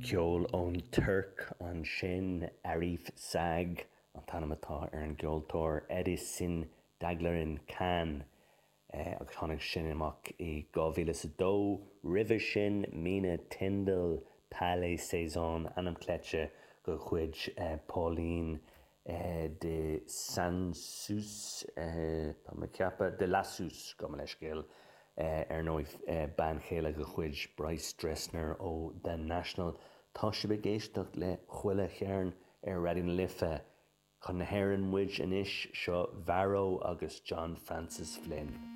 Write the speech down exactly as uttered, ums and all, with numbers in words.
Ceol ón Tuirc ansin Arif Sag an t-ainm atá ar an gceoltóir Erisin Daglarin Can eh, agus tháinig sin amach i dhá mhíle is a dó. Roimhe sin Mina Tindle Palais Saison ainm cleite de chuid eh, Pauline eh, de Sansus tá mé ag ceapadh de Lassus gabh mo leithscéal ar ndóigh bean chéile de chuid Bryce Dessner ó The National. Tá sibh ag éisteacht le Chuile Chearn ar Raidió na Life. Chun na hÉireann muid anois seo Mharrow agus John Francis Flynn.